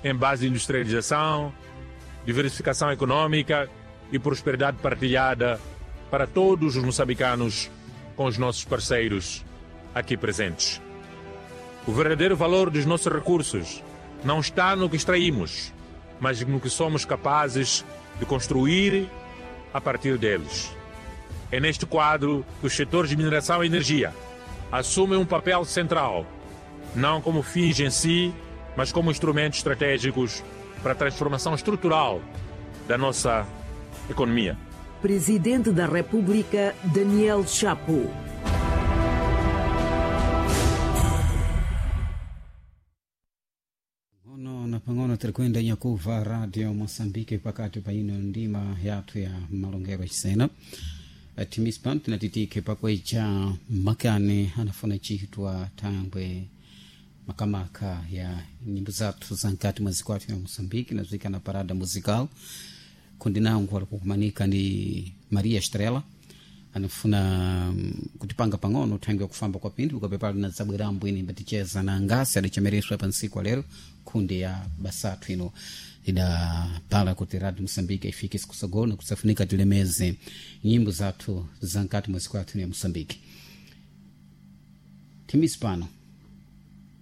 Em base de industrialização, diversificação econômica e prosperidade partilhada para todos os moçambicanos com os nossos parceiros aqui presentes. O verdadeiro valor dos nossos recursos não está no que extraímos, mas no que somos capazes de construir a partir deles. É neste quadro que os setores de mineração e energia assumem um papel central, não como fins em si, mas como instrumentos estratégicos para a transformação estrutural da nossa economia. Presidente da República, Daniel Chapo. Pang'ono na pang'ono tirikwenda nyakuva Radio Moçambique pakati pa ino ndima yathu ya malongero cisena timispa tinatitike pakweca makani anafuna chitwa thangwe makamaka ya nyimbo zathu za nkati mwa dziko athu ya Moçambique nazwika na parada musical kundi nangu alikukumanika ndi Maria Estrela anafuna kutipanga pang'ono thangwe yakufamba kwa pinthu ukapepala na zabwerambo ine imbaticheza na ngasi adachemereswa pa ntsiku alero kundi ya basathu ino idapala kuti Radio Moçambique ifike sikusogolo nakusafunika tilemeze nyimbo zathu za nkati mwa dziko athu ya Moçambique. Timisi pano.